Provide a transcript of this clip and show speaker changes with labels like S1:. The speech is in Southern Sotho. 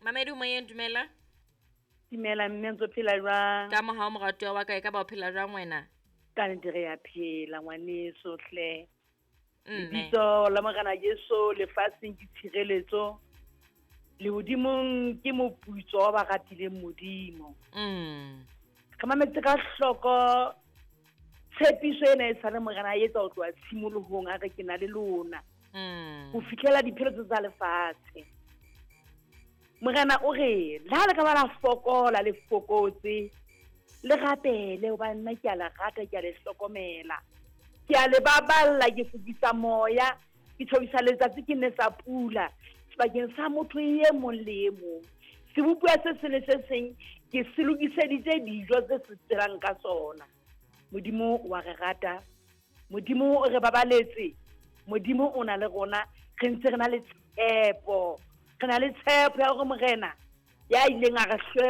S1: Mamedi o moyeng, dumela.
S2: Dumela mme, ntse o phela jwang?
S1: Ka mohao moratuwa wa ka, e ka ba o phela jwang wena?
S2: Ka nnete re ya phela ngwaneso hle.
S1: Mme.
S2: Lebitso la Morena Jesu lefatsheng ke tshireletso, lehodimong ke moputso wa ba ratileng Modimo. Re mametse ka hloko tshepiso ena e sale Morena a etsa ho tloha tshimolohong, a re ke na le lona ho fihlela dipheletso tsa lefatshe. Morena o re le ha le ka ba la fokola le fokotse, le rapele hobane nna ke a le rata, ke a le hlokomela, ke a le baballa, ke fokisa moya, ke tjhobisa letsatsi, ke nesa pula sebakeng sa motho e mong le e mong. Sebopuwa se seng le se seng ke se lokiseditse dijo tse se tselang ka sona. Modimo wa re rata, Modimo o re babaletse, Modimo o na le rona, re ntse re na le tshepo, re na le tshepo ya hore Morena ya ileng a re hlwela